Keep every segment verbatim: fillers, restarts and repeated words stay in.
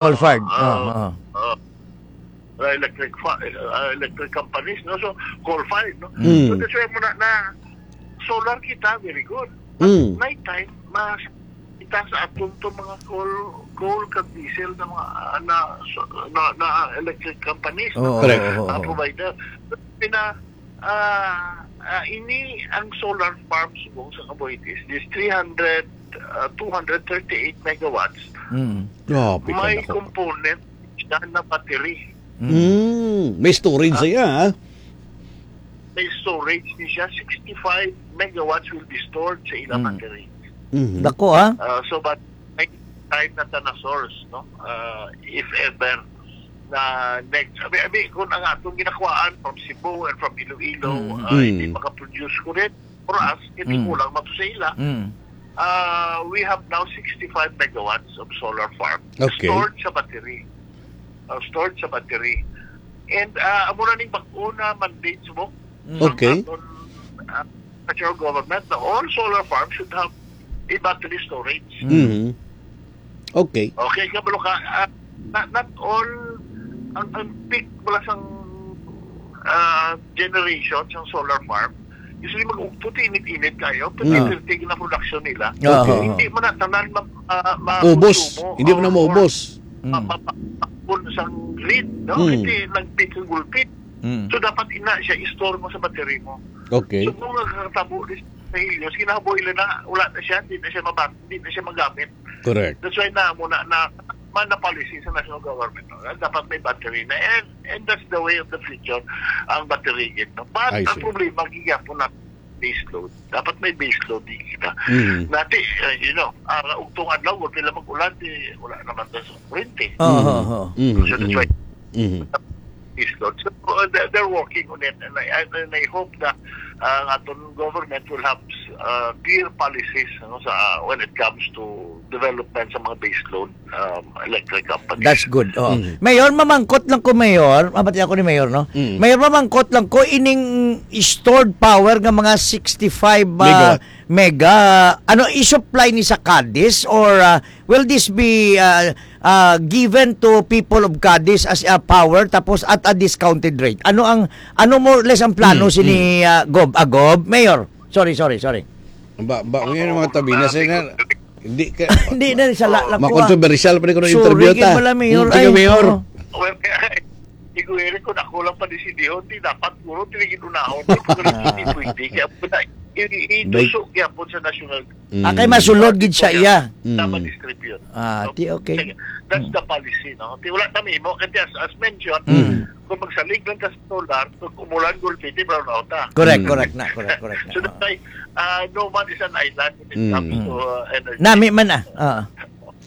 Coal-fired. Ah, Ah, ah. ah. Uh, electric fa-, uh, electric companies, no? So, coal-fired, no? Mm. So, that's why mo na, na solar kita, very good. But Mm. night time, mas kita sa aton to mga coal, coal kag diesel na mga, ah, na, so, na, na electric companies, no? Oo, Correct. oo, oo, Ah, oo. provider. Pina, ah, ah, ini ang solar farms subong sa Cavite is this three hundred, ah, two hundred thirty-eight megawatts. Mm. Grabe ka May nako. component siya na battery. Mm. Mm, may storage Ah. siya, ha? May storage ni siya, sixty-five megawatts will be stored sa ilang Mm. battery. Mhm. Dako, ha? Ah, so, but may time na ta na source, no? Ah, if ever na next, I mean, I mean, kung ang atong ginakuhaan from Cebu and from Iloilo, Mm. ah, hindi Mm. makaproduce ko rin for us, hindi Mm. kulang man to sa ila. Mm. Ah, we have now sixty-five megawatts of solar farm Okay. stored sa battery. Ah, stored sa battery. And, ah, amo na ning bag-o na mandate subong Mm. Okay. aton, ah, federal government na all solar farms should have a battery storage. Mm. Mhm. Okay. Okay, kabalo ka, ah, not, not all ang, ang peak wala sang, ah, generation sang solar farm. Usually mag-ugto ti init-init kayo, pero Mm. thirty na production nila. Okay. Oo. Hindi man na tanan ma-, ah, Ubos. makonsumo Hindi man na or, or maubos. ma-, Mm. ma-, ma-, ma-, sang grid, no? Mm. Kasi nag-peak ang gulpit. Mm. So, dapat ina siya, i-store mo sa battery mo. Okay. So, kung nagkakatabo di sa Helios, ginahaboy nila na, wala na siya, hindi na siya mabat-, hindi na siya magamit. Correct. That's why na muna na man na policy sa national government, no? Dapat may battery na, and, and that's the way of the future, ang battery gid, no? But I ang see. problema, gigapon na base load. Dapat may base load di kita. Mhm. Nati, uh, you know, ang ugtong adlaw, wala nila mag-ulan, di, wala naman na sa kurente. Oo, Mhm. oo. Mhm, So that's mhm. why Mhm. is Lord. So, uh, they're, they're working on it, and I, I, and I hope that, uh, ang aton government will have, uh, clear policies, ano, sa, uh, when it comes to development sa mga baseload, um, electric companies. That's good. Oo. Mm. Mayor, mamangkot lang ko, Mayor. Mabati ako ni Mayor, no? Mm. Mayor, mamangkot lang ko, ining stored power nga mga sixty-five, uh, Megawatt. mega, ano, i-supply ni sa Cadiz or, uh, will this be, uh, uh, given to people of Cadiz as a power tapos at a discounted rate? Ano ang, ano more or less ang plano Mm, sini, mm. uh, Gob? Ah, Gob? Mayor? Sorry, sorry, sorry. Ba, ba, ngayon mga tabi na, sir, na, hindi ka, Hindi na, sa la-, Oo. lang ko, ah. Ma-controversial pa rin ko ng Sorry, interview ta. Gid pala, Mayor. Hmm, sige, Ay, Mayor. oo. Well, kaya, Igo Eric, kung ako lang pa ni si Dion, di dapat, guro, tinigil unahon. Di ko rin hindi pwede. Kaya po na, i-, i-, May ituso kaya po sa national Mm. Ah, kay masulod gid siya, iya. Mm. na ma-distribute. Ah, So, ti, okay. sige, that's Mm. the policy, no? Ti, wala kami mo, kasi as, as mentioned, Mm. kung magsalig lang ka sa solar, kung umulan, gulpiti, brown out, ah. Correct, Mm. correct na, correct, correct na. So, that's Oo. why, uh, no man is an island when it Mm. comes to, uh, energy. Nami man, ah. Oo.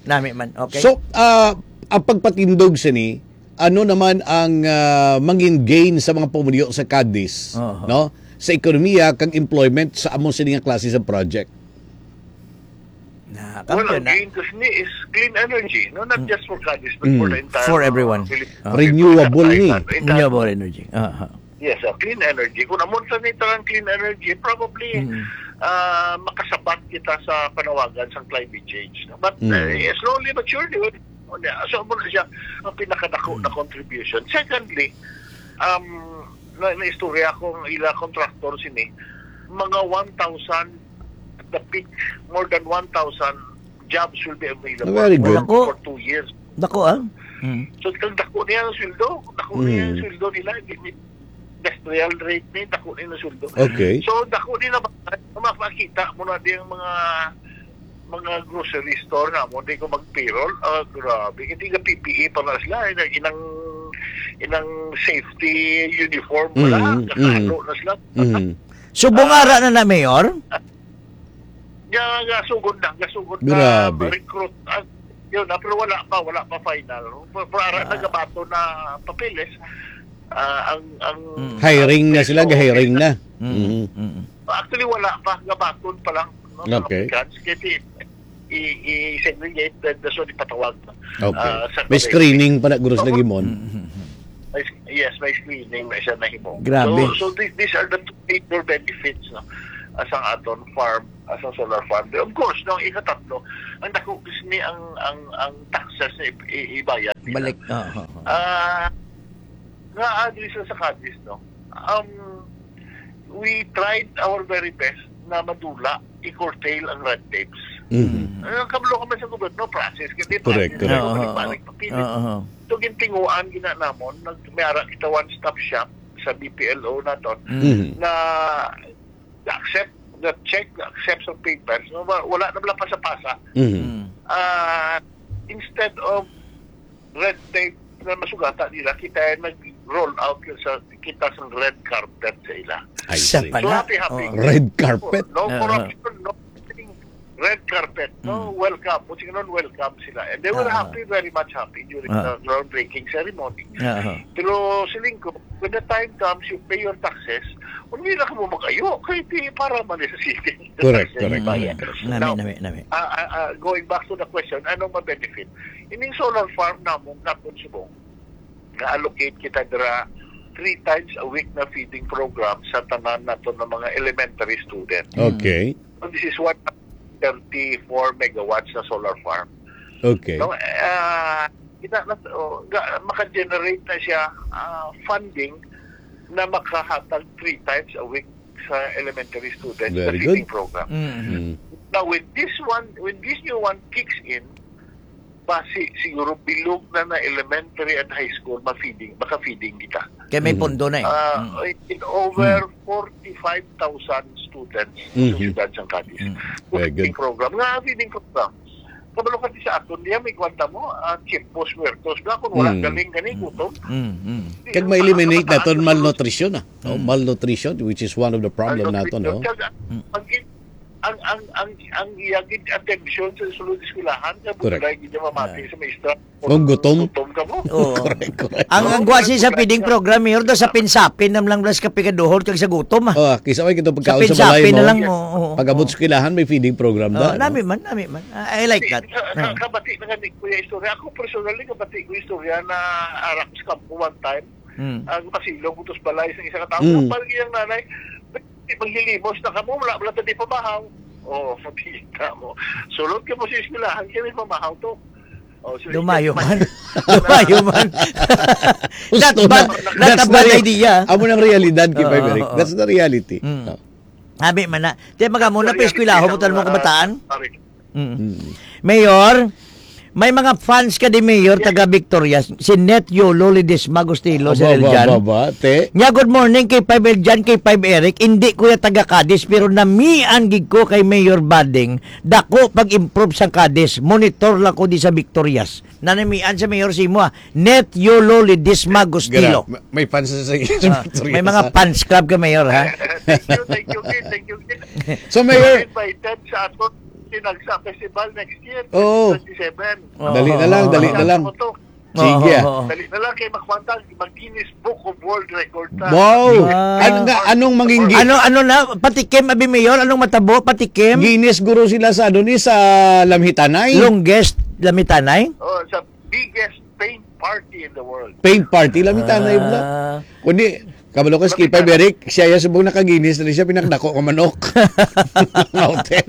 Nami man, okay. So, ah, ang pagpatindog sini, ano naman ang, ah, mangin gain sa mga pumuluyo sa Cadiz, Oo. no? Sa ekonomiya kag employment sa amo sini nga klase sa project? Na, Well, kamo ang na. gain kasi ni is clean energy, no? Not Mm. just for Cadiz, but for Mm. the entire, For uh, everyone. Philippines, Ah. Renewable ni. island, entire Renewable energy. Aha. Yes, uh, clean energy. Kung amon sa nito ang clean energy, probably, Mm. ah, makasabat kita sa panawagan sa climate change, no? But, Mm. uh, slowly but surely, oh, oh, yeah. So, amo na siya ang pinakadako Mm. na contribution. Secondly, um, na, naistorya ko ang ila contractor sini, mga one thousand at the peak, more than one thousand jobs will be available Very good. Dako. for two years. Dako, ah. Mm. So, kag dako niya ang sweldo, dako niya ang Mm. sweldo nila, di-, di-, industrial rate ni, dako niya ang sweldo. Okay. So, dako ni na ba, makita mo na di ang mga, mga grocery store na mo, di ko mag-payroll. Ah, grabe. Hindi nga P P E pa na sila, inang, inang, inang safety uniform wala, Mm, kakano mm. na sila. Mm. So, bungara Ah. na na, Mayor? Ga-, gasugod na, gasugod na Grabe. recruit. Ah, yun, ah, pero wala pa, wala pa final. Pero, pero ara, Ah. nagabato na papeles. Ah, ang, ang, Mm. Hiring ang na sila, preso, ga-hiring na. Mm, Mhm. mm. Actually, wala pa, gabaton pa lang, no, sa Okay. applicants. Kasi i-, i-segregate, then that's what ipatawag, Okay. ah, sa May college. screening pa na, guro, sa Oo. lagi mo. Mm, mm, mm. May s-, yes, may screening na siya na himo. Grabe. So, so thi-, these are the two major benefits, no, ah, sa aton farm ah, sa solar farm. Of course, no, ikatatlo, ang dako ni ang, ang, ang taxes na i-, i-, ibayad nila. Balik. Ah, ah, ah. Ah, nga, ah, diri sa, sa Cadiz, no? Um, we tried our very best na madula, i-curtail ang red tapes. Mhm. Mm. Ah, kabalo kami sa gobyerno, process, kaya di Correct, process, correct. Oo, balik-balik, oo. Mapilit. Oo, oo. So, gintinguan, gina namon, nag-, may ara kita one-stop shop sa B P L O naton, Mm. Mhm. na na-accept, na-check, na-accept sa papers, no? Wa-, wala na bala pasa-pasa. Mhm. Mm. Ah, instead of red tape na masugata nila, kita ay nag-roll out sa, kita sa red carpet sa ila. I Sa see. So, pala. Happy, happy. Oo. Red carpet? No Ah. corruption, no thing. Red carpet, no? Mm. Welcome. Kung sino nun, welcome sila. And they were Ah. happy, very much happy during Ah. the groundbreaking ceremony. Ah. Pero siling ko, when the time comes, you pay your taxes, hindi na kamo mag-ayo, kay di para man sa city. Correct, correct. Bayad. Mm. Nami, Now, nami, nami. ah, ah, ah, going back to the question, anong ma-benefit? Ining solar farm namon, namon subong, na-allocate kita dira three times a week na feeding program sa tanan nato ng mga elementary student. Mm. Okay. So, this is one thirty-four megawatts na solar farm. Okay. So, ah, kita na, oh, ga-, maka-generate na siya, ah, funding na makahatag three times a week sa elementary students sa Very feeding good. program. Mm. Mm. Now, when this one, when this new one kicks in, basi siguro bilog na na elementary and high school, ma-feeding, maka-feeding kita. Kay may Mm. pondo na eh. Ah, Mm. in over Mm. forty-five thousand students sa Mhm. siyudad sang Cadiz. Mm. Very good. Feeding program. Nga feeding program. Kabalo ka di sa aton, diya may kwanta mo, ah, tiempos muertos. Nga kung wala Mm. galing gani, Mm. gutom. Mm, mm. Di Kag ang ma-eliminate pagkabataan naton ko sa malnutrition, ah. Oh, Mm. malnutrition, which is one of the problem naton, Malnutrition. no? Kag ang, Mm. ang, ang, ang, ang, ang iya gid atensyon sa sulod eskwelahan, nga Correct. buday gid niya mamati Ah. sa maestra. Kung gutom. Gutom ka mo. Oo. Correct, correct. Ang, ang Oo, gwasi sa correct. feeding program, Mayor, daw sa sapin-sapin na lang, plus kape kaduhol kag sa gutom, ah. Oh, kisa may kito pagkaon sa balay Sapin-sapin na mo. lang, oo, oo, Pag-abot oo. sa eskwelahan, may feeding program Oo, na, no? nami man, nami man. Ah, I like that. Ka-, ka-, Ah. kabati na nga ni Kuya istorya. Ako personally, kabati ko istorya na arak sa kampo one time. Mm. Ang pasilong ko sa balay sa isa ka tawo. Mm. Ang pag iyang nanay, "Di, maghilimos na kamo, wala, wala ta di pamahaw." Oh, makita mo. Sulod ka mo sa eskwelahan, kaya may pamahaw to. Oh, so, Lumayo ikaw, man. Lumayo man. Gusto Not na. bad, not a That's the bad re-, idea. amo ng realidad, Kay Oo, Five Eric. oo. That's the reality. Mm. Oh. Abi man na. Di, maga muna, Reality pa eskwelahan mo, sa tan-aw mo mga kabataan? pare. Mm. Mm. Mayor, may mga fans ka di, Mayor, Yes. taga Victorias. Si Net Yolo Ledesma Gustilo, Sir Aba, aba, Eljan. aba, te. Nya, "Good morning, Kay Five Eljan, Kay Five Eric. Hindi ko ya taga Cadiz, pero namian gid ko kay Mayor Bading. Dako pag-improve sa Cadiz. Monitor lang ko di sa Victorias." Nanamian sa Mayor Simo, ah. Net Yolo Ledesma Gustilo. Gra-, ma-, may fans sa, sa Ah, Victorias, may mga ah. fans club ka, Mayor, ha? Thank you, thank you, Kid. Thank you, Kid. So, Mayor, You're invited sa aton Tinagsa Festival next year, Oo. twenty twenty-seven. Oo. Dali na lang, Oo. dali na lang. Ano to? Sige, Oo, ah. oo. Dali na lang kay makwanta, mag-Guinness Book of World Record ta. Wow! Wow. Ano nga, anong manginggi-, Ano, ano na? Patikim, abi, Mayor? Anong matabo? Patikim? Guinness guro sila sa, ano ni, sa Lamhitanay? Longest Lamhitanay? Oh, sa biggest paint party in the world. Paint party, Lamhitanay, bla. Ah. Kundi, kabalo ka, Skipper Lamhitanay. Beric, siya yung subong naka-Guinness na siya, pinakdako ka manok. Hotel.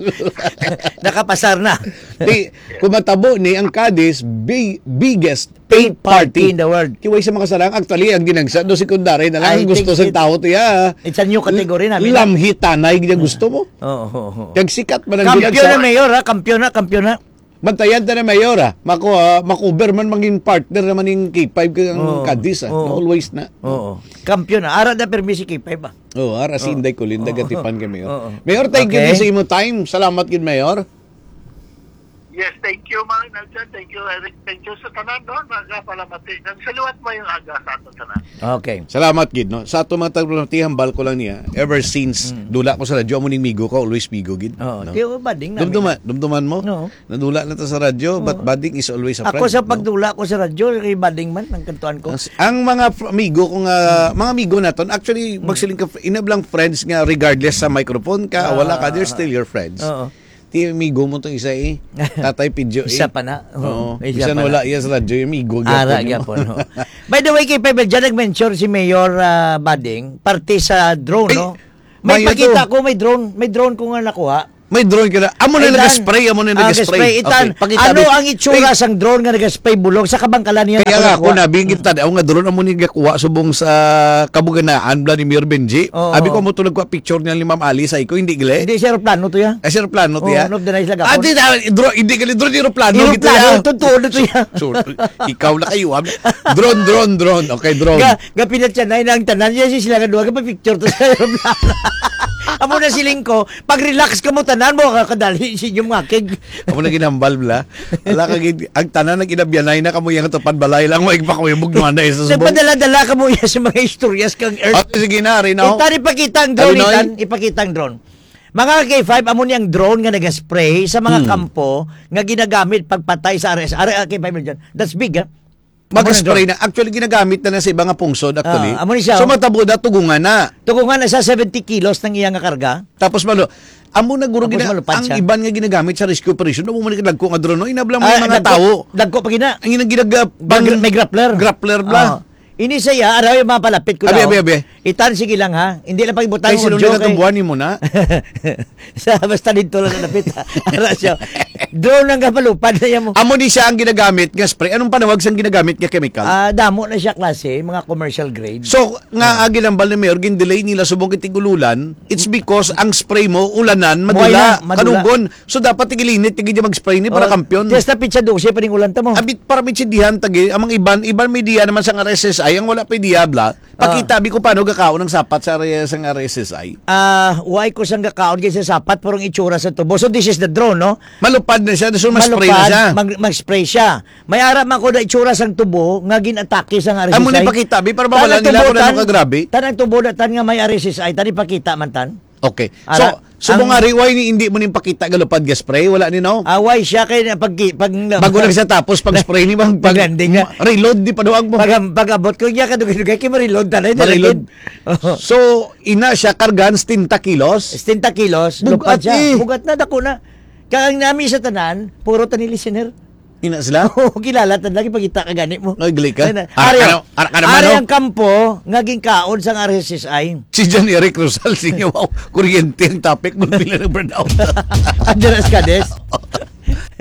Nakapasar na. Di, kung matabo ni ang Cadiz, bi-, biggest paint Paint party party. in the world. Kiway sa mga sarang, actually, ang ginagsa do secondary na lang I ang gusto think sa it, tao to, ya. it's a new category na, Mina. Lamhitanay, gina gusto mo. Oo, oo, oo. Kag sikat man ang Kampiyon ginagsa. na, Mayor, ha? Kampiyon na, kampiyon na. Bantayan ta na, Mayor, ha? Mako, ah, makuber man mangin partner naman yung K five kag ang Oo. Cadiz, ah. Oo. Always na. Oo. Kampiyon na. Ara na permi si K five, ah. Oo, ara si Oo. Inday Colinda Oo. Gatipan kay Mayor. Oo. Mayor, thank you Okay. din sa imo time. Salamat gid, Mayor. Yes, thank you, Mang Eljan. Thank you, Eric. Thank you sa tanan, no? Nagpalamati. Nang saliwat mo yung aga sa ato tanan. Okay. Salamat gid, no? Sa ato mga taga-, hambal ko lang niya, ever since, Mm. dula ko sa radyo, amo ning migo ko, always migo gid, Oo, no? Di, oh, bading namin. Dumduman, dumduman mo? No. Nadula na ta sa radyo, but Oo. bading is always a Ako friend, sa no? pagdula ko sa radyo, kay bading man, ang kantuan ko. Ang s-, ang mga fr-, amigo ko nga, Mm. mga amigo naton, actually, Mm. magsiling ka, fr-, inablang friends nga regardless sa microphone ka, Ah, wala ka, they're ah, still your friends. Oo. Ti amigo mo tong isa eh. Tatay Pidyo eh. Isa pa na. Oo. Oo. Isa Bisan pa na. wala iya sa radyo, yung amigo Ara gyapon, no? gyapon, no? By the way, kay Pebel, dyan nag-mention si Mayor, ah, Bading, parte sa drone, Ay, no? May mayo pakita to. ko, may drone, may drone ko nga nakuha. May drone ka na. Amo na Ay, nag-spray, amo na ah, nag-spray. Itan, Okay, pakita, ano bi. ang itsura Ay, sang drone nga nag-spray bulong sa kabangkalan niya? Kaya Ako nga, ako nakuha. nabingit ta, ako nga drone, amo ni gakuha subong sa kabuganaan, bla ni Mayor Benji. Oo. Abi ko, amo to nagkuha picture niya ni Ma'am Alice, ay ko, hindi gali. Hindi siya aeroplano to, ya. Ay, siya aeroplano to, Oo, ya. no, deny sila Ah, gapon. di na, drone, hindi gali drone, aeroplano, Aeroplano, gito, ya. totoo na to, ya. So, ikaw na kayo, ah. Drone, drone, drone. Okay, drone. Ga, ga pinatyanay na ang tanan niya, si sila nga duha, ga pa-picture to sa aeroplano. Amo na siling ko, pag-relax ka mo, tanan mo, kakadali, si inyong ngakig. Amo na ginambal, bla. Ala, kag ang tanan nag-inabyanay na kamo yang tupad balay lang, wa igpakuyabog na isa subong. Nagpadala-dala ka mo iya sa mga istorya sa kang Earth. Ah, sige na, Rino. Itan, ipakita ang drone, Talinoy? Itan, ipakita ang drone. Mga K five, amo ni ang drone nga nag-spray sa mga Hmm. kampo nga ginagamit pagpatay sa R S. Are, ah, K five million. That's big, ah. Amo ni ang Mag-spray drone. na. Actually, ginagamit na na sa iba nga pungsod, actually. Ah, amo ni siya, So, oh. matabo na, tugungan na. Tugungan na sa seventy kilos ng iya nga karga. Tapos, malo, amo na guro Tapos gina-, malupad ang siya. iban nga ginagamit sa rescue operation, amo man kadagko nga drone, no? Inablang may Ah, mga dagko, tawo. dagko pa gina. Ang ginag-, May pang gra-, may grappler. grappler bla. Ah. Ini siya, araw yung mga palapit ko Abi, daw. abi, abi. Itan, sige lang, ha? Hindi lang pag-ibutang Kay sa sino audio, na kay tumbuhan mo na? Sa, basta dito lang sa dapit, ha? Ara siya. Drone ang kapalupad na yan mo. Amo ni siya ang ginagamit nga spray. Anong panawag sang ginagamit nga chemical? Ah, damo na siya klase, mga commercial grade. So, nga, ah, ginambal ni Mayor, gin-delay nila subong kay tig-ululan, it's because ang spray mo, ulanan, Muhay madula, na, madula. kanugon. So, dapat tigilinit, tigi dyan mag-spray ni para Oh, kampiyon. Just na pitsa dose pa ning ulan ta mo. Abit, para mitsindihan, tagi, ang mga iban, iban may diya naman sa R S S I, ang wala pa diabla, Ah. pakita, bi ko paano gakaon ang sapat sa area sang R S S I. Ah, why ko sang gakaon kay sa sapat, pero ang itsura sa tubo. So, this is the drone, no? Malupad na siya, so mas spray na Malupad, siya. mag-, mag-spray siya. May ara man ko na itsura sang tubo nga gin-atake sang Amo R S S I. ni pakita, bi, para Tan mawala ang nila tubo, kung ano tan, kagrabe. tan ang tubo na tan nga may R S S I, tan ipakita man tan. Okay. So, Ara, subong ang nga, Riway, ni hindi mo ning pakita galupad nga spray, wala ni, no? Away siya kay na pag, pag, Bago lang siya tapos pag spray ni, pag, pag Pag-landing na. reload, di pa daw ang Pag, pag-abot ko niya, kadugay-dugay kay ma-reload, tanay na Ma-reload. reload. Oo. So, ina siya, kargan, setenta kilos? Setenta kilos, Bugat lupad siya. eh. Bugat na, dako na. Kaya ang nami sa tanan, puro tani listener. Ina sila? Oo, kilala ta lagi pagkita ka gani mo. Ay, gali ka. Ay, na. Ara Ari, ka na-, ara ka naman, ari no? ang kampo nga ginkaon sang R S S I. Si John Eric Rosal, sige, wow, kuryente ang topic mo, pila ng brownout. Andres Cades.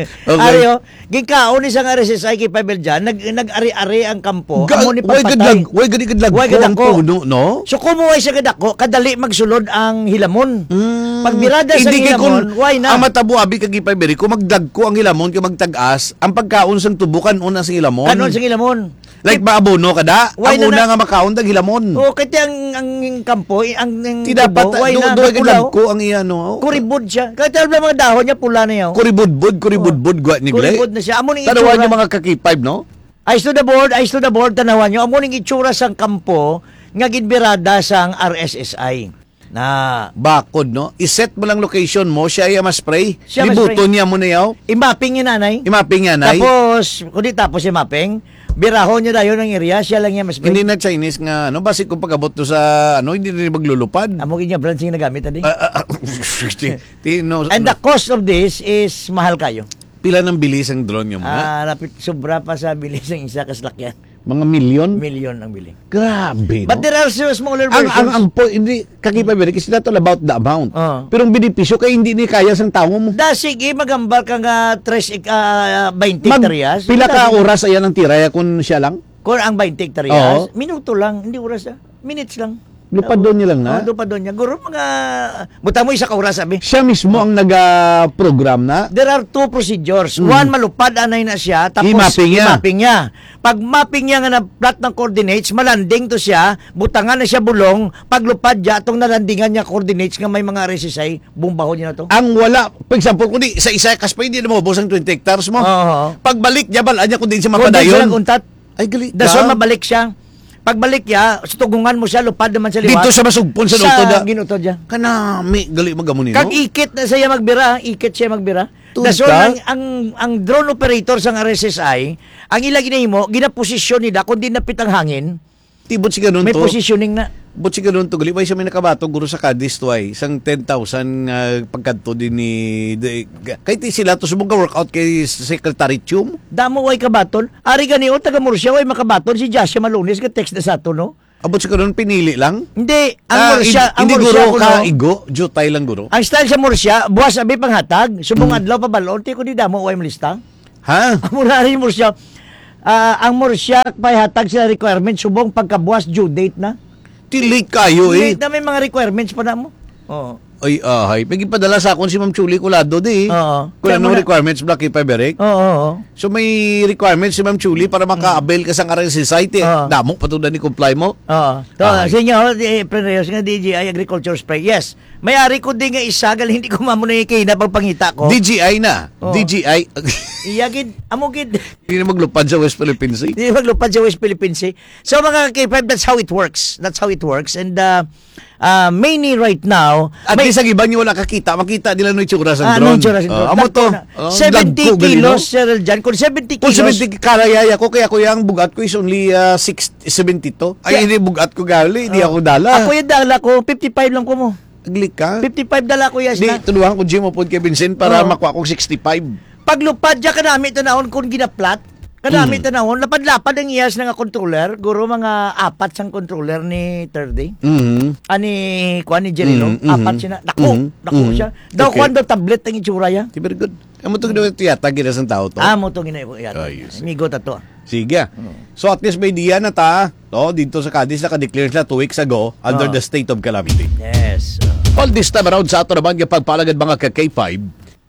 Okay. Ari, oh, ginkaon ni sang R S S I kay Pavel Jan, nag-, nag-ari-ari ang kampo. Ga-, Amo ni way pagpatay. gadlag-, way gadi gadlag Way ko ang gadako. puno, no? So, kumuha siya gadako, kadali magsulod ang hilamon. Mm. Pag birada sa Hindi kay hilamon, kung why na? ang matabo, abi, kag ipabiri, kung magdagko ang hilamon, kay magtag-as, ang pagkaon sang tubo, kan-on na sa hilamon. Kan-on sa hilamon. Like, maabono ka da? Why Ang na una na? nga makaon, dag hilamon. Oo, kaya ang, ang kampo, ang, ang Ti tubo, dapat, why do, na? do, Napulaw. gadagko ang iya, no? Kuribod siya. Kahit ang mga dahon niya, pula na yun. Kuribudbud, kuribudbud, Oh. gwa ni Gle. Kuribod na siya. Amo ning Tanawan itsura. niyo, mga ka-K five, no? Eyes to the board, eyes to the board, tanawan niyo. Amo ning itsura sang kampo nga ginbirada sang R S S I. Na. Bakod, no? I-set mo lang location mo, siya iya mas spray. Siya mas Libuton spray. niya mo na yaw. I-mapping niya, nanay. I-mapping niya, nay. Tapos, kundi tapos i-mapping, birahon niya dayon ang area, siya lang iya mas spray. Hindi na Chinese nga, ano, basi kung pag-abot to sa, ano, hindi rin maglulupad. Amo gid niya brand sing nagamit, adi. Ah, ah, ah, ti-, ti-, no, And no. the cost of this is mahal kayo. Pila nang bili sang drone nga muna? Ah, rapit, sobra pa sa bili sang isa ka salakyan. Mga milyon? Milyon ang bili. Grabe, But no? there are still smaller Ang, ang, versions. ang po, hindi, kagiba, very, it's not all about the amount. Ah. Pero ang benepisyo kay hindi ni kaya sang tawo mo. Da, sige, magambal ka nga tres, ik-, ah, twenty Mag-, hektaryas. pila ka Dami. oras ayan ang tiraya kung siya lang? Kung ang twenty hektaryas, Oo. minuto lang, hindi oras, ah. Minutes lang. Lupadon niya lang na? Oh, lupadon niya. Guro, mga, buta mo isa ka oras, sabi. Siya mismo Oh. ang naga-program na? There are two procedures. Mm. One, malupad anay na siya, tapos I-mapping niya. i-mapping niya. Pag mapping niya nga na-plot ng coordinates, malanding to siya, butangan na siya bulong, paglupad niya, atong nalandingan niya coordinates nga may mga R S S I, bumbahon niya na to. Ang wala, for example, kung di, sa isa kas pa, hindi na maubos ang twenty hectares mo. Oo. Pagbalik niya, bala niya kung di siya Kung di siya mapadayon. nag-untat, Ay, gali Dason ka. mabalik siya. Pagbalik niya, sa tugungan mo siya, lupad naman sa liwat. Dito siya masugpon sa Sa utod, ah. ginutod niya. Kanami, gali mag-amo ni, Kag no? ikit na siya magbira, ikit siya magbira. Tuod Dason ka? ang, ang, ang drone operator sa R S S I, ang ila ginahimo, ginaposisyon nila, kung di napit ang hangin, Ti, but si ganun may to, positioning na. but si ganun to, gali, why siya may nakabato, guro sa Cadiz to ay, isang ten thousand nga pagkadto din ni, di, ga-, kay ti sila to, subong ka workout kay Secretary Chum. Damo way kabaton. Ari gani, o, taga Murcia, way makabaton si Joshua Malones, ka text na sa ato, no? Abot sa karon, pinili lang? Hindi, ang Ah, Murcia, hindi, ang hindi, Murcia guro, kuno, ka igo, jutay lang, guro. Ang style sa Murcia, buwas abi panghatag, subong Hmm. adlaw pa balon, ti ko di damo, way malista. Ha? Amo na rin Murcia. Ah, ang Murcia, pay hatag sila requirement, subong pagkabuwas, due date na. Ti late kayo, eh. Late na, may mga requirements pa na mo. Oo. Ay, ahay. May gipadala sa akon si Ma'am Chuli Colado, di. Oo. Kung Kaya anong mo na requirements, Black K five Eric. Oo, oo. So, may requirements si Ma'am Chuli para maka-avail ka sa R S S I, ti. Oo. Damo pa to na ni comply mo. Oo. To, Ahay. Sa inyo, oh, di, Pren Reyes nga, D G I Agriculture Spray. Yes. May ari ko din nga isa, gal, hindi ko mamo na yung kaina pagpangita ko. D G I na. Oo. D G I. Iya gid, amo gid. Hindi na maglupad sa West Philippine Sea. Hindi maglupad sa West Philippine Sea. So, mga K five, that's how it works. That's how it works. And, uh, uh, mainly right now, At may least ang iba nyo wala kakita, makita nila no itsura sa Ah, drone. Anong itsura sa Ah, drone? Amo to. Takbo na. Oh, Seventy dagko gali, kilos, no? Sir Jan. Kung seventy Kung kilos. Seventy, karayaya ko, kaya ko yung bugat ko is only, ah, six, seventy-two. Ay, Kaya hindi bugat ko gali, di Oh. ako dala. Ako yung dala ko, fifty-five lang ko mo. Agli ka? Fifty-five dala ko, yes Di, na. Tuluhan ko, Jim, upod kay Vincent para Oo. makuha kong sixty-five. Paglupad dya, kanami tanawon kung ginaplat. Kanami Mm. tanawon, lapad-lapad ang iyas na nga controller. Guro mga apat sang controller ni Thirdy. Mhm. Ani, kuan ni Jerry, no? Mhm, mhm. Apat sina. Dako, Mhm, dako mhm. siya. Daw Okay. kuan daw tablet ang itsura ya. Di, very good. Amo to ginawa yata, gina sang tao to. Ah, mo to ginawa yata. Ah, yes. Amigo ta to. Sige. Oo. So, at least may idea na ta. To, dito sa Cadiz, naka-declare sila two weeks ago under Oo. the state of calamity. Yes. All this time around sa ato naman nga pagpalagad, mga ka K five,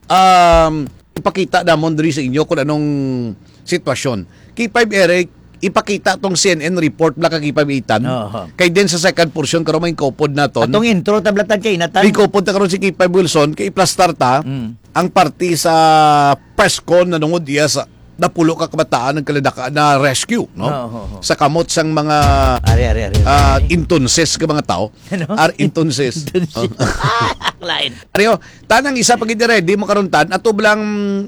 um, ipakita namon diri sa inyo kung anong sitwasyon. K five Eric, ipakita tong C N N report, Black, ka K five Ethan. Oho. Kay din sa second portion, karon may kopod naton. Atong intro, tablatan kay Nathan. May kopod ta karon si K five Wilson, kay iplastar ta Mm. ang parte sa press con na nungod iya sa napulo ka kabataan ang kaladaka na rescue, no? Oho, oho. Sa kamot sang mga, Ari, ari, ari, ari, ah, ari. Entonces ka mga tao. Ano? Ar-, entonces. Entonces. Oh. Ah, lain. Ari, oh, tanang isa pa gid, ready mo karon tan, ato lang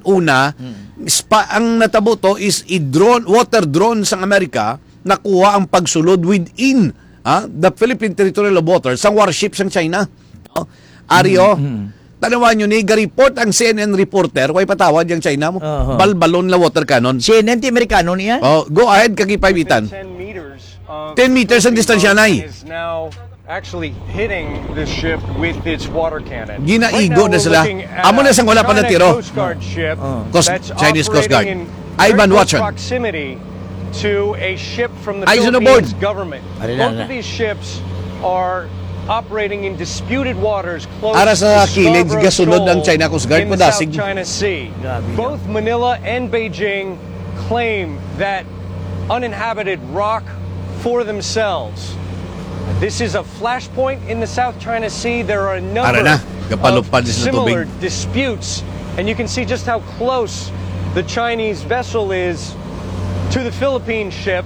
una, Hmm. spa, ang natabo to is i-drone, water drone sang Amerika, nakuha ang pagsulod within, ah, the Philippine territorial water sang warship sang China. No? Ari, Hmm, oh, hmm. Tanawan nyo ni, ga-report ang C N N reporter, way patawad yang China mo. Oho. Balbalon la water cannon. C N N ti Amerikano niya? Oh, go ahead, ka K five Ethan. Ten meters of Ten meters ang distansya, Nay. Is now actually hitting the ship with its water cannon. Ginaigo Right now, na we're sila. Looking at Amo na sang wala pa China natiro. Coast Guard ship Oh. Coast, that's Chinese Coast Guard. Operating in Ivan very close Watson. Proximity to a ship from the Eyes on the Philippines board. Government. Ari na, Both na. Of these ships are operating in disputed waters close Ara sa to kilid, Scarborough gasulod ang Shoal China Coast Guard, in the South padasig. China Sea. Grabe. Both Manila and Beijing claim that uninhabited rock for themselves. This is a flashpoint in the South China Sea. There are a number Ara na, gapalupad of sa tubig. Similar disputes, and you can see just how close the Chinese vessel is to the Philippine ship.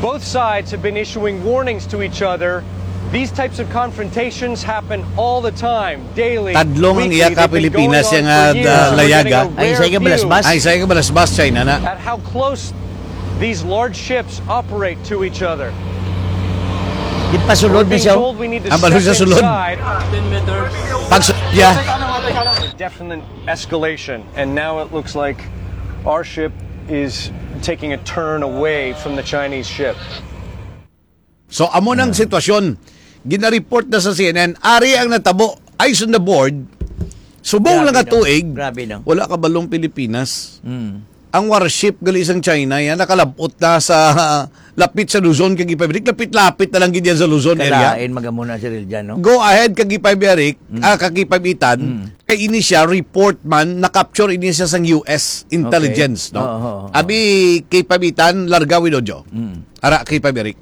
Both sides have been issuing warnings to each other. These types of confrontations happen all the time, daily, Tadlong ang weekly. Iya ka They've been Pilipinas going on yang, for ah, years. Da-, We're getting a layaga. Ay, rare sa iya view balasbas. Ay, sa iya balasbas, China na. At how close these large ships operate to each other. Di pa sulod We're na being siya. Told we need to Ang balon step sa sulod. Inside. Pag su-, yeah. Definite escalation, and now it looks like our ship is taking a turn away from the Chinese ship. So, amo nang Ah. sitwasyon. Gina-report na sa C N N. Ari ang natabo. Eyes on the board. Subong Grabe, lang ka no? Tuig. Grabe, no? Wala ka balong Pilipinas. Mm. Ang warship gali sang China, yan, nakalabot na sa lapit sa Luzon, kay K five Eric. Lapit-lapit na lang gid yan sa Luzon area. Kalain, magamuna si Riljan, no? Go ahead, ka K five Eric, Mm. ah, ka K five Ethan. Mm. Kay ini siya, report man, na-capture ini siya sang U S intelligence, Okay. no? Oo, oo, oo. Abi, K five Ethan, larga with audio. Mm. Ara, K five Eric.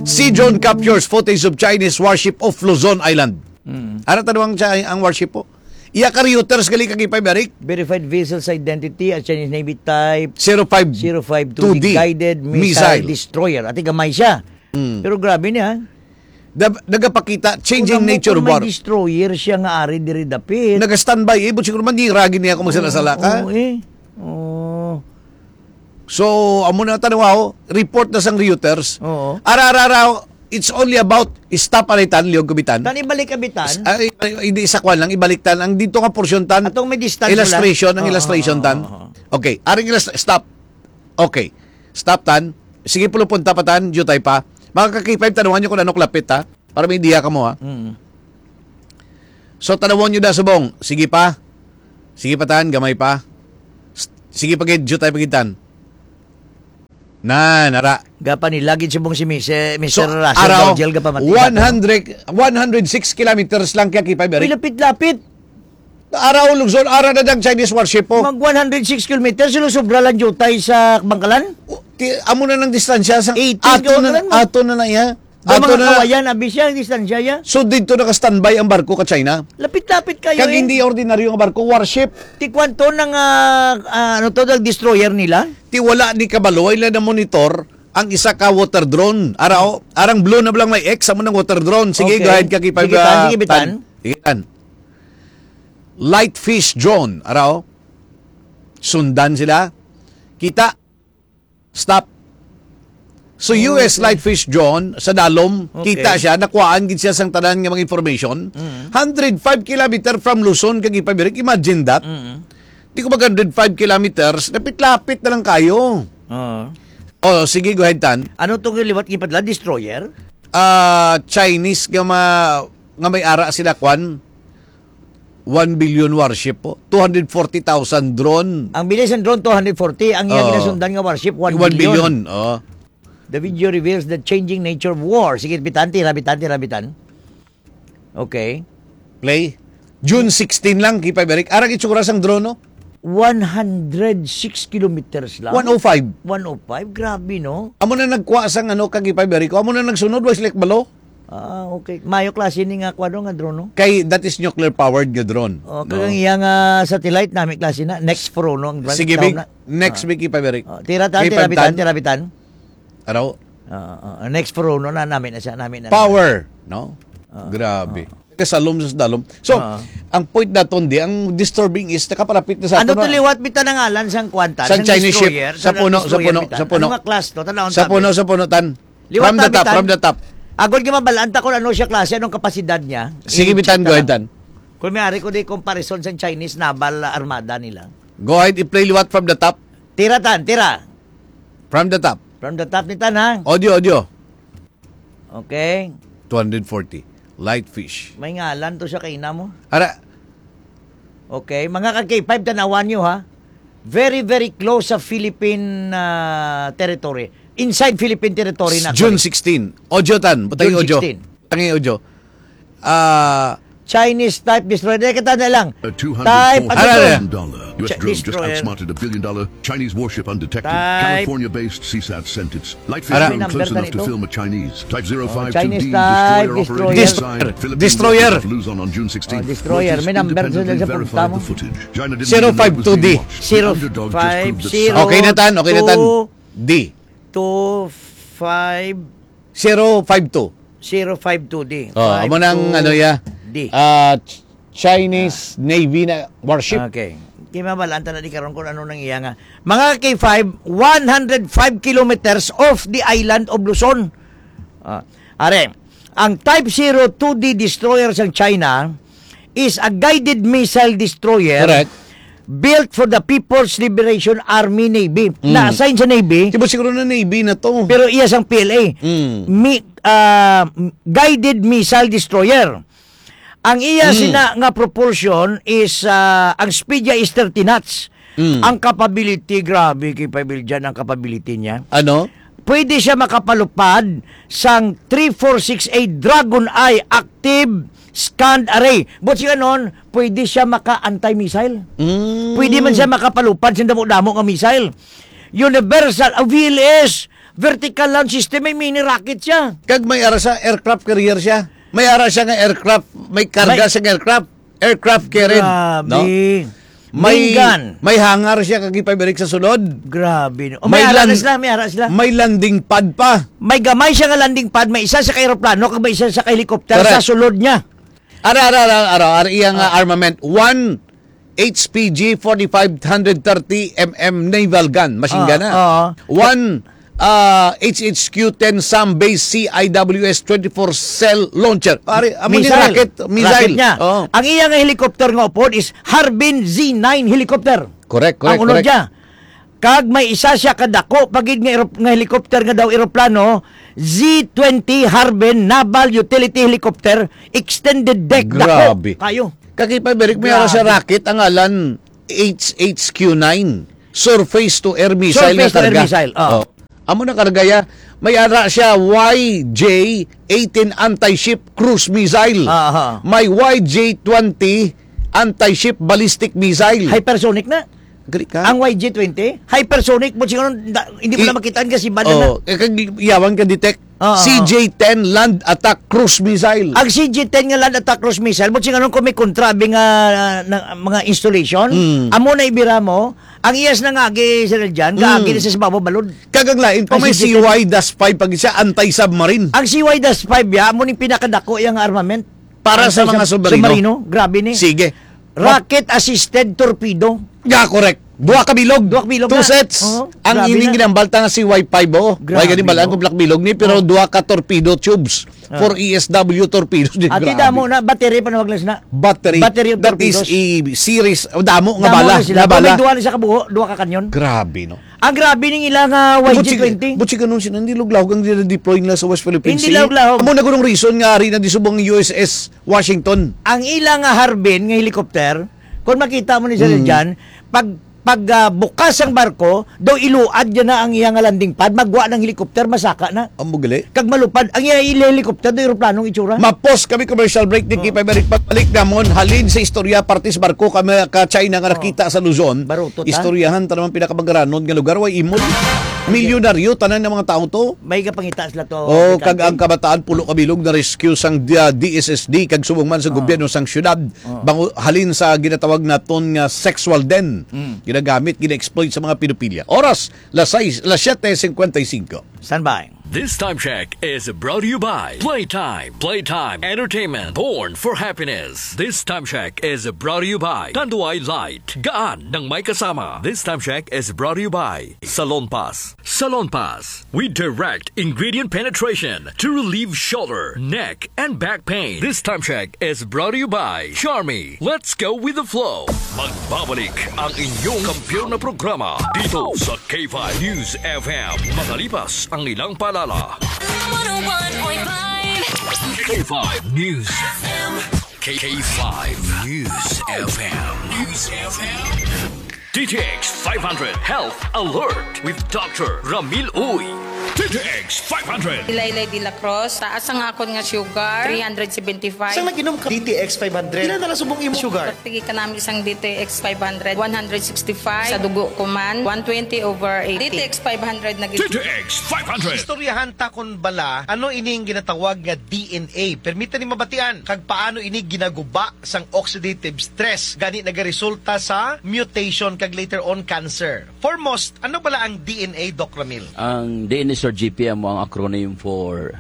Sea drone captures footage of Chinese warship off Luzon Island. Mm. Ara, tanong ang, ang warship po. Iya ka Reuters gali ka K five Eric. Verified vessel's identity as Chinese Navy type Zero five zero five two D two D guided missile missile. Destroyer. Ati gamay siya. Mm. Pero grabe niya. Da-, nagapakita, changing Kung nature of may war. Destroyer siya nga ari diri dapit. Naga-standby, eh, but siguro man, di ragi niya kung magsala-sala ka. Oo, eh. Oo. So, amo na tanaw, report na sang Reuters. Oo. Ara, ara, ara, it's only about stop aritan, Leon Kubitan. Tan ibalik Abitan. S-, ay, ay, hindi sa kwan lang, ibalik tan. Ang dito nga portion tan, Atong may distance illustration, lang. Ang Oo, illustration oo, tan. Oo, oo. Okay, aring illust-, stop. Okay, stop tan. Sige, pulo punta pa, tan, jutay pa. Mga ka-K five, tanawan nyo kung ano kalapit, ha? Para may idea kamo, ha? Mm. So, tanawon nyo da subong. Sige pa. Sige pa, tan, gamay pa. S-, sige pa gid, jutay pa gid, tan. Na, nara. Gapa ni lagi subong si Mister, So, Mister Russell araw, Gautier, gapa mati na to. one hundred, one hundred six kilometers lang kaya K five, Uy, Eric. Lapit-lapit. Araw, Luzon, ara na dang Chinese warship po. Mag one hundred six kilometers, sila sobra lang jutay sa Bangkalan? O, ti-, amo na ng distansya sa Eighteen ato na, kilometers mo. Ato na na iya. Daw Ato mga na. Kawayan, abi siya, ang distansya niya. So, dito naka-standby ang barko ka China. Lapit-lapit kayo Kag eh. Hindi ordinaryo nga barko, warship. Ti kwanto nang, ah, ah, ano to, ang destroyer nila? Ti wala ni kabalo, ila na monitor ang isa ka water drone. Ara, oh, arang blue na lang may X, amo nang water drone. Sige, Okay. Go ahead, Kaki Five, Sige, Tan, ah, sige, Bitan. Tan. Sige, Tan. Light fish drone, ara, oh. Sundan sila. Kita. Stop. So, Oh, U S okay. Light fish drone sa dalom, Okay. kita siya, nakuhaan gid siya sang tanan nga mga information. Mm. Hundred five kilometer from Luzon, kag ipabirik. Imagine that. Mm. Di ko mag hundred five kilometers, lapit-lapit na lang kayo. Oo. Oh, sige, go ahead, Tan. Ano to nga liwat gipadala? Destroyer? Ah, Chinese nga ma-, nga may ara sila, kwan, one billion warship po. Two hundred forty thousand drone. Ang bilis ng drone, two hundred forty. Ang iya Oo. Ginasundan nga warship, one billion. One billion, oo. The video reveals the changing nature of war. Sige, bitan, tira, bitan, tira, bitan. Okay. Play. June sixteen lang, Kipay Berik. Arang itsura sang drone, no? One hundred six kilometers lang. One oh five. One oh five, grabe, no? Amo na nagkuha sang ano, kag Kipay Berik. Amo na nagsunod, wa sila kabalo. Ah, okay. Mayo klase ni nga kuwano nga drone, no? Kay that is nuclear powered nga drone, Oh, no? Kagang iya nga satellite, nami klase na. Next Pro, no? Ang brand, Sige, tawag big, na. Next Ah. Big, Kipay Berik. Oh, tira tan, Kipay tira bitan, tan. Tira bitan. Araw? Ah, ah, ah. Next Pro, no, na, nami na siya, nami na. Power, no? Ah, Grabe. Ah. Kasalom sa dalom. So, Ah. ang point naton di, ang disturbing is nakapalapit na sa Ano aton to na. Liwat bitaw nga ngalan sang kwan, tan? Sang Sang Chinese ship. Destroyer, Sa sang puno, sa destroyer puno, bitaw. Sa puno. Ano nga class to? Tan-awon Sa ta, puno, bis. Sa puno, tan. Liwat From ta the top, bitan. From the top. Agod nga mabalaan ta kung ano siya klase, anong kapasidad niya. Sige, I-check bitan, ta go ahead, lang. Tan. Kung may ari ko di comparison sang Chinese naval armada nila. Go ahead, i-play liwat from the top. Tira, tan, tira. From the top. From the top ni tan, ha? Audio, audio. Okay. Two hundred forty. Light fish. May ngalan to siya kay ina mo? Ara. Okay, mga ka-K five, tanawan nyo, ha? Very, very close sa Philippine, ah, territory. Inside Philippine territory na, June actually. Sixteen. Audio tan. Butang June audio. Sixteen. Butang audio. Ah, Chinese type destroyer. Dahil kita na lang. A Type, ano to? Ara, ara. Two hundred forty thousand dollar U S Ch-, drone just destroyer. Outsmarted a billion dollar Chinese warship undetected. Type. California-based C sat sent its light fish Ara. May drone number close ka enough to nito? Film a Chinese Type Oh, zero five two D Chinese type destroyer destroyer. operating Dis-, inside Philippine destroyer. Waters of Luzon on June sixteenth. Oh, destroyer. May number Reuters sa, sa independently punta verified mo. The footage. China didn't Zero five two D. Even know it was being watched. The underdog just proved that Zero five zero. Okay na tan, okay na tan. Two. D. Two five. Zero five two. Zero five two D. Oh, amo nang, ano, ya? D. Ah, Ch-, Chinese Ah. Navy na warship. Okay. Kimabalaan ta na di karon kung ano nang iya nga. Mga K five, one hundred five kilometers off the island of Luzon. Ah, are, ang Type zero two D destroyer sa China is a guided missile destroyer Correct. Built for the People's Liberation Army Navy. Mm. Na-assign sa Navy. Di ba siguro na Navy na to? Pero iya sang P L A. Mm. Mi-, ah, guided missile destroyer. Ang iya Mm. sina nga propulsion is, ah, ang speed niya is thirty knots. Mm. Ang capability, grabe, kay Pabil dyan ang capability niya. Ano? Pwede siya makapalupad sang three four six A Dragon Eye active scanned array. But siya nun, pwede siya maka-anti-missile. Mm. Pwede man siya makapalupad sa damo-damo nga missile. Universal, ah, V L S, vertical launch system, may mini rocket siya. Kag may ara sa aircraft carrier siya. May ara siya nga aircraft, may karga May siya nga aircraft. Aircraft carrier, Grabe. No? May, Minggan. May hangar siya kag ipabirik sa sulod. Grabe, no? O, may May ara na lan-, sila, may ara sila. May landing pad pa. May gamay siya nga landing pad, may isa sa ka aeroplano, kag may isa sa ka helicopter Correct. Sa sulod niya. Ara, ara, ara, ara, ara, iya nga Oh. armament. One H P G forty-five hundred thirty M M naval gun, machine Ah, gun na. Oo. One, ah, H H Q ten SAM based C I W S twenty-four cell launcher. Pare, amo ni Missile. Rocket, missile. Rocket niya. Oo. Ang iya nga helicopter nga upod is Harbin Z nine helicopter. Correct, correct, Ang unod correct. Niya. Kag may isa siya ka dako pa gid nga erop-, nga helicopter nga daw eroplano, Z twenty Harbin Naval Utility Helicopter, extended deck, dako Grabe. kayo. Kaki pa, Berik, may ara siya Grabe. rocket ang ngalan H H Q nine. Surface to air missile Surface nga to air karga. missile, oh. Oh. Amo na karga ya. May ara siya Y J eighteen anti-ship cruise missile. Aha. May Y J twenty anti-ship ballistic missile. Hypersonic na. Gali ka? Ang Y J twenty, hypersonic, but siguro, da-, hindi mo I-, na makita ang kasibanan na. Oh, eh, kag yawan ka detect. Oo. C J ten land attack cruise missile. Ang C J ten nga land attack cruise missile, but siguro kung may kontra, abi nga, na, mga installation, Mm. amo na ibira mo, ang iyas na nga agi, Sir Jan, Mm. kaagi na sa babaw balod. Kag ang lain pa, Ang may C J ten. C Y dash five pag siya, anti-submarine. Ang C Y dash five ya, amo ning pinakadako yang armament. Para Ang sa sa mga sub-, submarino. submarino, grabe ni. Sige. Rocket-assisted torpedo. Yeah, correct. Duha ka bilog. Duha ka bilog Two na. sets. Oo, Ang grabe ining na. ginambalta nga C Y five, oh. Grabe, Wala gani balaan no? kung black bilog ni, pero Oh. duha ka torpedo tubes. Ah. For E S W torpedos din, Ati grabe. damo na, battery pa na maglas na. Battery. Battery of That is torpedos. a series. Oh, damo nga Damo bala. na sila. Nga Kung bala. may duha na sa kabuho, duha ka kanyon. Grabe, no? Ang grabe ning ila nga But si, Y G twenty. but si ganun sila, hindi luglahog ang deploy nila sa West Philippine Hindi Sea. luglahog. Amo na gunong reason nga ari na di subong U S S Washington. Ang ila nga Harbin nga helicopter, kung makita mo ni Sir Mm. Jan, pag, pag, ah, bukas ang barko, daw iluad yan na ang iya nga landing pad, magwa ng helicopter, masaka na. Amo gali. Kag malupad, ang iya ila helicopter, daw eroplanong itsura. Mapos kami commercial break, di Oh. kita balik, pagbalik namon, halin sa istorya, parte sa barko kami ka China nga Oh. nakita sa Luzon. Baruto ta. Istoryahan ta naman pinakamagaranon nga lugar, way imol. Milyonaryo, tanan ng mga tao to. May kapangita sila to, Oh, aplikante. kag ang kabataan, pulo ka bilog na rescue sang D-, ah, D S S D, kag subong man sa Oh. gobyerno sang syudad. Oh. Bango-, halin sa ginatawag naton nga sexual den. Mm. Ginagamit, gina-exploit sa mga pedophilia. Oras, las sais, las siete cincuenta y cinco. Stand by. This time check is brought to you by Playtime. Playtime Entertainment. Born for happiness. This time check is brought to you by Tanduay Light. Gaan ng may kasama. This time check is brought to you by Salon Pass. Salon Pass. We direct ingredient penetration to relieve shoulder, neck, and back pain. This time check is brought to you by Charmy. Let's go with the flow. Magbabalik ang inyong kampiyon na programa dito sa K five News F M. Makalipas ang ilang paalala. One oh one point five K five News F M. K five News F M. News F M. D T X five hundred Health Alert with Doctor Ramil Uy. D T X five hundred. Laylay de la Cruz, taas ang akon nga sugar, three hundred seventy-five. Sang nag-inom ka D T X five hundred? Pila na lang subong imo sugar? Pagtigi ka namin sang D T X five hundred, one hundred sixty-five. Sa dugo ko man, one twenty over eighty. D T X five hundred na gid. D T X five hundred. Istoryahan ta kon bala, ano ining ginatawag nga D N A? Permita ni mabatian, kag paano ini ginaguba sang oxidative stress, gani nagaresulta sa mutation kag later on cancer. Foremost, ano bala ang D N A, Doc Ramil? Ang D N A, Sir G P, amo ang acronym for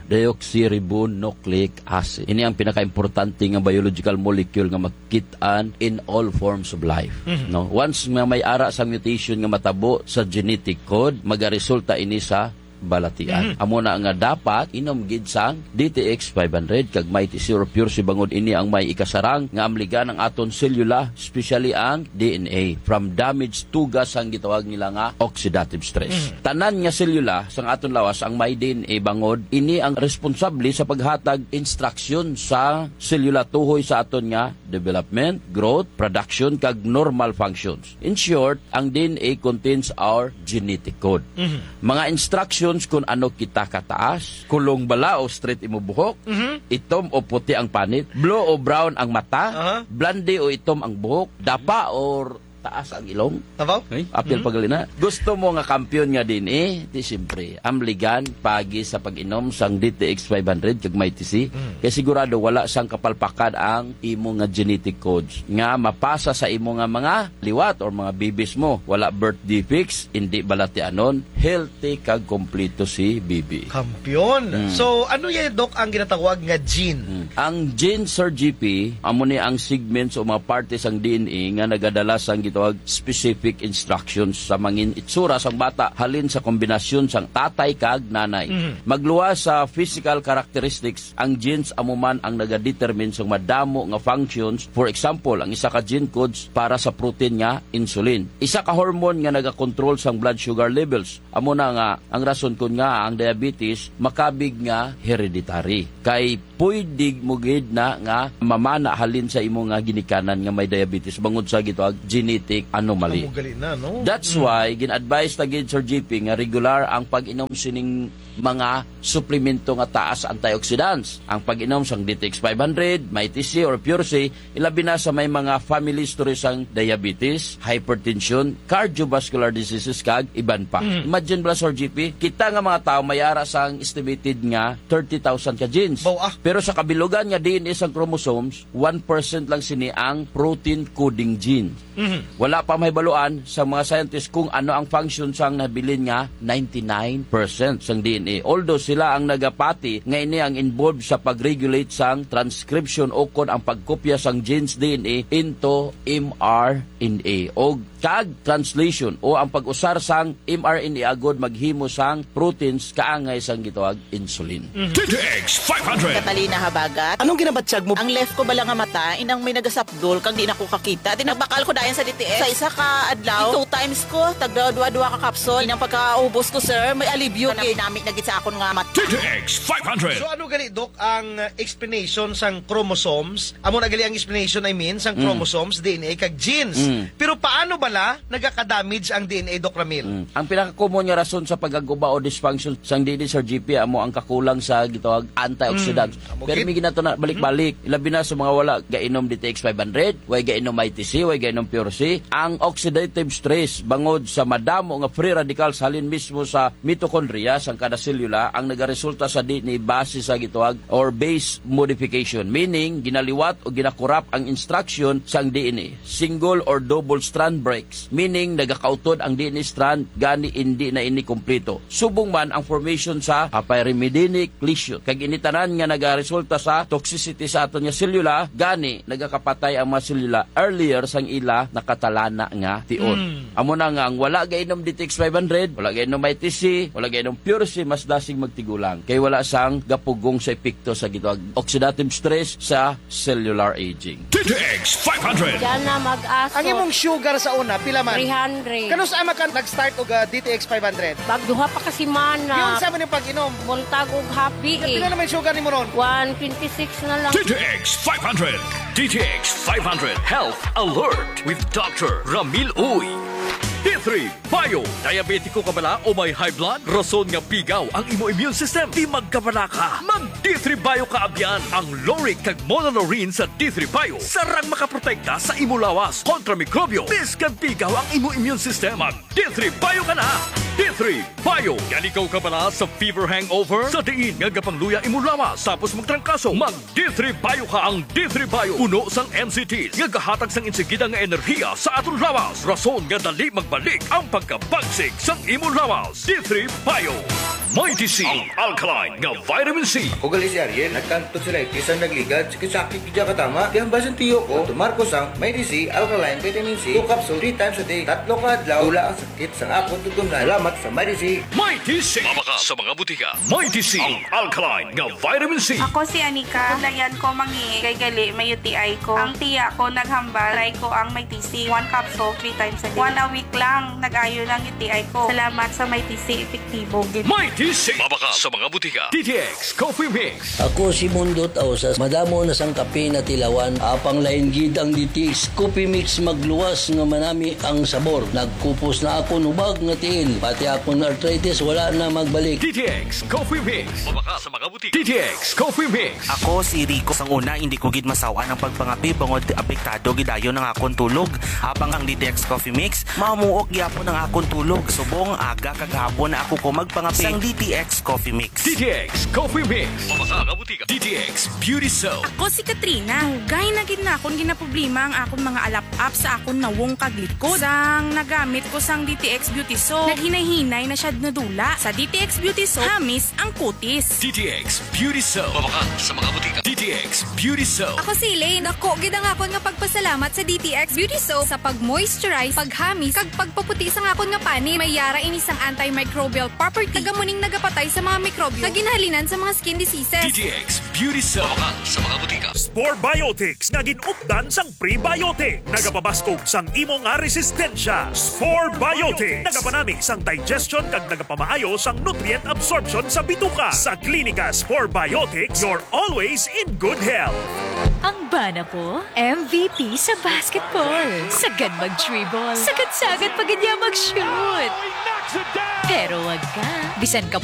deoxyribonucleic acid. Ini ang pinakaimportante nga biological molecule nga makit-an in all forms of life. Mhm. No? Once nga may ara sang mutation nga matabo sa genetic code, magaresulta ini sa balatian. Mhm. Amo na nga dapat inom gid sang D T X five hundred kag Mighty C or Pure C bangod ini ang may ikasarang nga amligan ang aton selula, especially ang D N A, from damage tugas sang gitawag nila nga oxidative stress. Mhm. Tanan nga selula sang aton lawas ang may D N A bangod ini ang responsable sa paghatag instruction sa selula tuhoy sa aton nga development, growth, production, kag normal functions. In short, ang D N A contains our genetic code. Mhm. Mga instructions kung ano kita kataas, kulong bala o straight imo buhok, Mhm. itom o puti ang panit, blue o brown ang mata, Aha. blonde o itom ang buhok, dapa or taas ang ilong. Tabaw? Okay. Apil Mhm. pagalina. Gusto mo nga kampiyon nga D N A? Di siyempre, amligan pagi sa pag-inom sang D T X five hundred kag Mighty C. Mm. Kay sigurado wala sang kapalpakan ang imo nga genetic codes nga mapasa sa imo nga mga liwat or mga babies mo. Wala birth defects, hindi balatianon, healthy kag kompleto si baby. Kampiyon. Mm. So, ano yan, Doc, ang ginatawag nga gene? Mm. Ang gene, Sir G P, amo ni ang segments o mga partes sang D N A nga nagadala sang tawag specific instructions sa mangin itsura sang bata halin sa kombinasyon sang tatay kag nanay. Mhm. Magluwas sa physical characteristics, ang genes amo man ang nagadetermine sang madamo nga functions. For example, ang isa ka gene codes para sa protein nga insulin. Isa ka hormone nga nagakontrol sang blood sugar levels. Amo na nga ang rason kon nga ang diabetes makabig nga hereditary. Kay pwede mo gid na nga mamana halin sa imo nga ginikanan nga may diabetes bangod sa gitawag genetic anomaly. Amo gali na, no? That's Mm. why gin-advise ta gid, Sir G P, nga regular ang pag-inom sining mga suplemento nga taas antioxidants. Ang pag-inom sang D T X five hundred, Mighty C or Pure C, ilabi na sa may mga family history sang diabetes, hypertension, cardiovascular diseases, kag iban pa. Mm. Imagine bala, Sir G P, kita nga mga tao may ara sang estimated nga thirty thousand ka genes. Baw, ah. Pero sa kabilugan nga D N A sang chromosomes, one percent lang sini ang protein coding gene. Mhm. Wala pa mahibaluan sa mga scientist kung ano ang function sang nabilin nga ninety-nine percent sang D N A. Although sila ang nagapati nga ini ang involved sa pag-regulate sang transcription o kon ang pagkopya sang genes D N A into M R N A o kag translation o ang pag-usar sang M R N A agod maghimo sang proteins kaangay sang gitawag insulin. D T X five hundred. Catalina Habagat. Anong ginabatyag mo? Ang left ko bala nga mata, inang may nagasapdol, kag di na ko kakita. Di nagbakal ko dayon sa D T X. Sa isa ka adlaw, two times ko, tagda dua-dua ka kapsul. Inang pagkaubos ko, sir, may alibyo. Kanami-nami na gid sa akon nga mata. D T X five hundred. So, ano gali, Doc, ang, uh, explanation sang chromosomes? Amo na gali ang explanation, I mean, sang Mm. chromosomes, D N A, kag genes. Mm. Pero paano bala nagaka-damage ang D N A, Doc Ramil? Mm. Ang pinaka-common nga rason sa pagkaguba o dysfunction sang D N A, Sir G P, amo ang kakulang sa gitawag antioxidants. Mm. Amo Pero gid. May ginato na balik-balik, Mm. labi na sa mga wala gainom D T X five hundred, way gainom Mighty C, way gainom Pure C. Ang oxidative stress bangod sa madamo nga free radicals halin mismo sa mitochondria sang kada selula ang nagaresulta sa D N A base sa gitawag or base modification, meaning ginaliwat o ginakurap ang instruction sang D N A. Single or double strand breaks, meaning nagakautod ang D N A strand, gani indi na ini kompleto. Subong man ang formation sa papyremidinic lesion, kag ini tanan nga nagaresulta sa toxicity sa aton nga selula, gani nagakapatay ang mga selula earlier sang ila nakatalana nga tion. Mm. Amo na nga ang wala gainom D T X five hundred, wala gainom Mighty C, wala gainom Pure C, mas dasig magtigulang kay wala sang gapugong sa epekto sa gitawag oxidative stress sa cellular aging. D T X five hundred. Diyan na mag-aso. Ang imong sugar sa una, pila man? Three hundred. Kanus-a man ka nag-start og, ah, D T X five hundred? Pag duha pa ka semana. Yun sa man yung pag-inom. Buntag ug hapdi, eh. Pila naman yung sugar nimo ron? One twenty-six na lang. D T X five hundred. D T X five hundred Health Alert with Doctor Ramil Uy. D three Bio. Diabetiko ka bala o may high blood? Rason nga pigaw ang imo immune system. Di magkabala ka. Mag D three Bio ka abyan. Ang lauric kag monolaurin sa D three Bio sarang makaprotekta sa imo lawas kontra mikrobyo. Bisan pigaw ang imo immune system, mag D three Bio ka na. D three Bio. Yanigaw ka bala sa fever hangover? Sa diin nga gapangluya imo lawas tapos magtrangkaso, mag D three Bio ka. Ang D three Bio puno sang N C Ts nga gahatag sang insigida nga enerhiya sa aton lawas, rason nga dali magbalik ang pagkabagsik sang imo lawas. D three Bio. Mighty C, ang alkaline nga vitamin C. Ako gali si Ariel, nagkang tonsillitis ang nagligad, sakit-sakit gid katama. Kaya ang basin tiyo ko, tumar ko sang Mighty C, alkaline vitamin C, two capsule, three times a day. Tatlo ka adlaw, wala ang sakit sang akon tutunlan. Salamat sa Mighty C. Mighty C. Mabakal sa mga butika. Mighty C, ang alkaline nga vitamin C. Ako si Anika. Kulayan ko mangi kay gali may U T I ko. Ang tiya ko naghambal, try ko ang Mighty C. One capsule, three times a day. One a week lang, nag-ayo lang U T I ko. Salamat sa Mighty C, epektibo gid. Mighty C. Mabakal sa mga butika. D T X Coffee Mix. Ako si Mundo Tausas. Madamo na sang kape na tilawan. Apang lain gid ang D T X Coffee Mix, magluwas nga manami ang sabor. Nagkupos na akon hubag nga tiil. Pati akon arthritis wala na magbalik. D T X Coffee Mix. Mabakal sa mga butika. D T X Coffee Mix. Ako si Rico. Sang una, hindi ko gid masaw-an ang pagpangape bangod apektado gid dayon ang akon tulog. Habang ang D T X Coffee Mix, mamuok gyapon ang akon tulog. Subong aga kag hapon na ako ko magpangape. Sang D T X Coffee Mix. D T X Coffee Mix. Pamaka nga butika. D T X Beauty Soap. Ako si Katrina. Dugay na gid na akon ginaproblema ang akon mga alap-ap sa akon nawong kag likod. Sang nagamit ko sang D T X Beauty Soap, naghinay-hinay na siya nadula. Sa D T X Beauty Soap, hamis ang kutis. D T X Beauty Soap. Pamaka sa mga butika. D T X Beauty Soap. Ako si Elaine. Dako gid ang akon nga pagpasalamat sa D T X Beauty Soap sa pag-moisturize, paghamis, kag pagpaputi sang akon nga panit. May yara ini sang antimicrobial property. Taga mo ning nagapatay sa mga mikrobyo nga ginahalinan sa mga skin diseases. D T X Beauty Soap. Pamaka sa mga butika. Spore Biotics nga gin-updan sang prebiotic. Nagapabaskog sang imo nga resistensya. Spore Biotics. Nagapanami sang digestion kag nagapamaayo sang nutrient absorption sa bituka. Sa Klinika Spore Biotics, you're always in good health. Ang bana ko, M V P sa basketball. Sagad mag-dribble. Sagad-sagad pa gid niya mag-shoot. Pero wag ka. Bisan ka